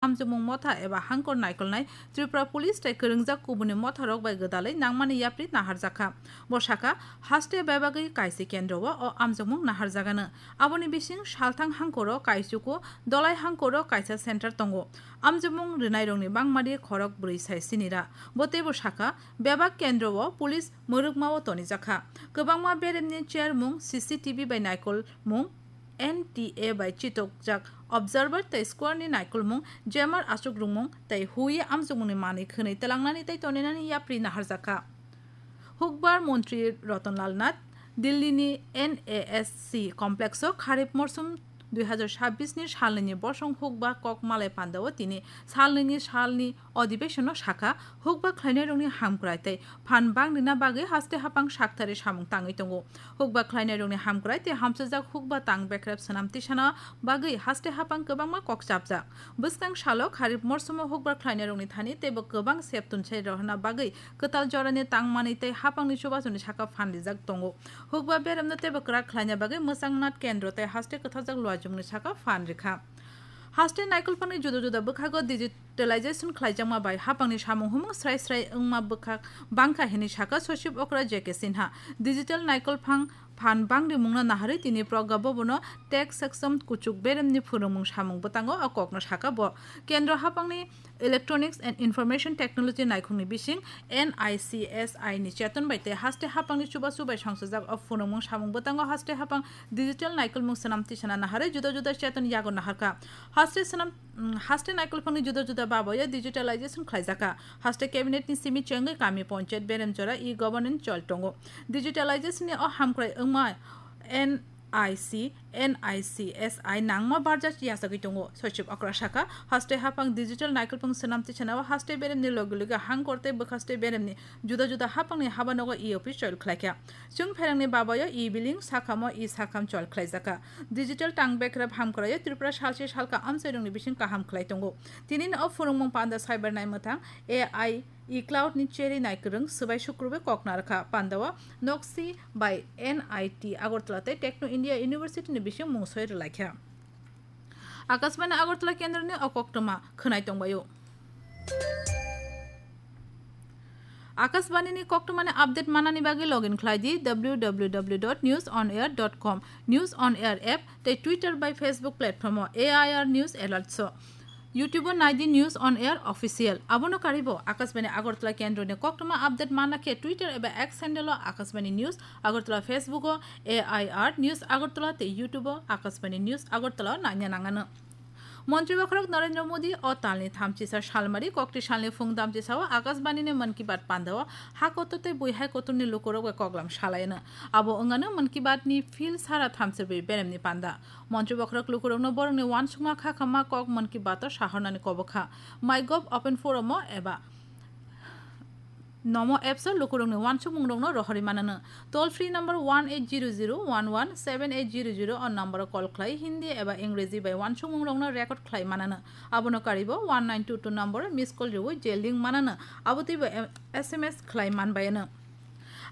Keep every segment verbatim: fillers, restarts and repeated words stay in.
amjokmung motha eba hangkor naikolnai Tripura Police tei kwrwngjak kubuni motharok bai gwdalwi nangmani yapri naharjakha. Bo sakha, haste bebagwi kaisi kendro o o amjokmung naharjagano. Aboni bising salthang hangkoro kaisuku dolai hangkoro kaisa center tongo. Amjokmung rwnairokni bangmadi khorok bwrwi sai sinira. Bo teibo sakha, bebak kendro o police mwrwkma o tonijakha. Kwbangma beremni chairmung, C C T V bai naikolmung, N T A bai chitokjak observer tei square ni naikolmung, jammer aswk rwngmung tei huye amjokmungni manwi khwnwi twlangnani tei toninani yapri naharjakha. Hukbar Montri Ratan Lal Nath Delhi ni N A S C complex o Kharif morsum dui hazar sabbish ni salnwini bosong hukba kok malai pandao tini salnwini salni Adhibeshon no sakha, hukba khlainairokni hamkrai tei phan bang rina bagwi haste hapang sakthari samung tangwi tongo. Hukba khlainairokni hamkrai tei hamsajak hukba tang bekrep swnam tisana bagwi haste hapang kwbangma kok chapjak. Bwskang salo Kharif morsumo hukba khlainairokni thani teibo kwbang sep tunsai rohorna bagwi kwtal jorani tangmani tei hapangni chubasuni saka phan rijak tongo. Hukba beremno teibo kwrak khlaina bagwi mwchang nat kendro tei haste kwthajak luajwngni saka phan rikha. Haste naikolphangni juda juda bwkhago digitalization khlaijakma bai hapangni samung humung srai srai wngma bwkhak bangkha hinwi sakha Sochib Okra J K Sinha. Digital naikolphang phan bangrimungno naharwi tini Pragya Bhavan-o tech section kuchuk beremni phwrwngmung samung bwtango o kokno sakha bo. Kendro hapangni Electronics and Information Technology naikhungni bising N I C S I ni cheton bai tei haste hapangni chubachu bai songchajak o phwrwngmung samung bwtango haste hapang digital naikolmung swnam tisana naharwi juda juda cheton yago naharkha. Haste swnam, mm, haste naikolphangni juda juda baboyo digitalization khlaijakha. Haste cabinet ni simi chengwi kami ponchayat berem jora e-governance chol tongo. Digitalization ni o hamkrai wngma N I C, N I C S I nangma barja yachagwi tongo. Sochib Okra sakha, haste hapang digital naikolphang swnam tisanao haste beremni logi logi hangkor tei bwkhaste beremni juda juda hapangni habanogo e-office chol khlaikha. Chwng pherangni babayo e-billing, sakhamo e-sakham chol khlaijakha. Digital tang bekrep hamkraio Tripura salsi salka amchairokni bising kaham khlai tongo. Tinini o phwrwngmung panda cyber naimwthang A I e-cloud ni cherwi naikwrwng swbai sukrubwi kok narwkha. Pandao Noksi bai N I T Agartala tei Techno India University ni bising mungsoi rwlaikha. Akashbani Agartala kendroni o koktwma khwnai tongbaio. Akashbani ni koktwmani update manani bagwi login khlai di W W W dot news on air dot com, News on Air app tei Twitter bai Facebook platform o A I R News Alerts o. YouTube o nai di News on Air Official. Abono karibo Akashbani Agartala kendroni koktwma update manna khe Twitter eba X handle o Akashbani News Agartala, Facebook o A I R News Agartala tei YouTube o Akashbani News Agartala o naina nangano. Montri Bokhorok Narendra Modi o talni thamchisa salmari kokti salni phung damchisao Akashbani ni Mann Ki Baat pandao ha kotor tei bui hai kotorni lukurok bai koklam salaino. Abo wngano Mann Ki Baat ni phil sara thamsirbrwi beremni panda. Montri Bokhorok lukurokno borokni uansukma kha khamma kok Mann Ki Baat o sahornani kobokha. MyGov Open Forum o eba Nomo apps o lukurokni uansukmungrokno rohorwi manano. Toll free number one eight zero zero one one seven eight zero zero o number o call khlai Hindi eba Ingreji bai uansukmungrokno record khlai manano. Abono karibo one nine two two number o miss call rwui je link manano, abo twibo em-, S M S khlai manbayano.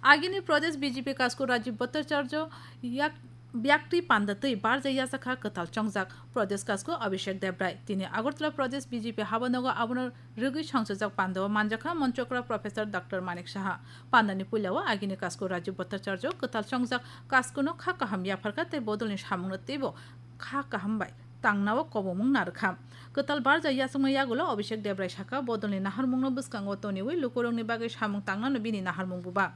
Agini Pradesh B J P kasku Rajiv Bhattacharya yak Byakti panda twi barja yachakha kwtal chongjak Pradesh kasku Abhishek Debrai. Tini Agartala Pradesh B J P habanogo abono rwgwi songchajak pandao manjakha Manchokra Professor Doctor Manik Saha. Pandani puilao agini kasku Rajiv Bhattacharya kwtal chongjak kaskuno kha kaham yapharkha tei bodolni samungno teibo kha kaham bai tangnao kobomung narwkha. Kwtal barja yachakma yagulo Abhishek Debrai sakha, bodolni naharmungno bwskango toniwi lukurokni bagwi samung tangnano bini naharmung buba.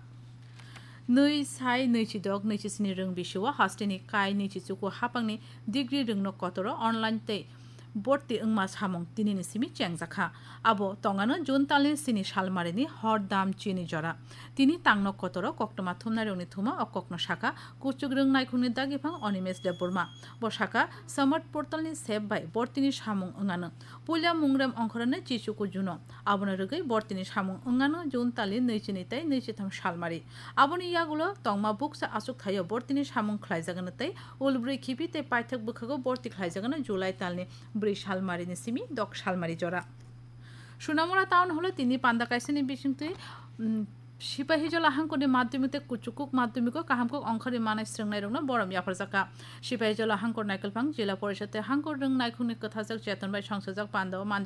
Nwi sai nwichidok nwichi sini rwng bisio hasteni kai nwichi chuku hapangni degree rwngno kotoro online tei borti wngma samung tinini simi chengjakha. Abo tongano June talni sini salmarini hor dam chini jora. Tini tangno kotoro koktwma thumnairokni thuma o kokno sakha kuchuk rwng naikhungni dagiphang Animesh Debbarma. Bo sakha, Samarth portalni sep bai bortini samung wngano. Puila mungrem ongkhorano chichuku juno. Abono rwgwi bortini samung wngano June talni nwichini tei nwichitham salmari. Aboni yagulo tongma bukcha achuk thaio bortini samung khlaijagano tei ulbrwi khibi tei paithak bwkhago borti khlaijagano July talni brwi salmarini simi dok salmari jora. Sunamura Town Hall-o tini panda kaisani bisingtwi, mm, Sipahijola hangkorni madhyamik tei kuchukuk madhyamiko kaham kok ongkhorwi manai srwngnairokno borom yapharjakha. Sipahijola hangkor naikolphang Jila Porishad tei hangkor rwng naikhungni kwthajak cheton bai songchajak pandao manjak.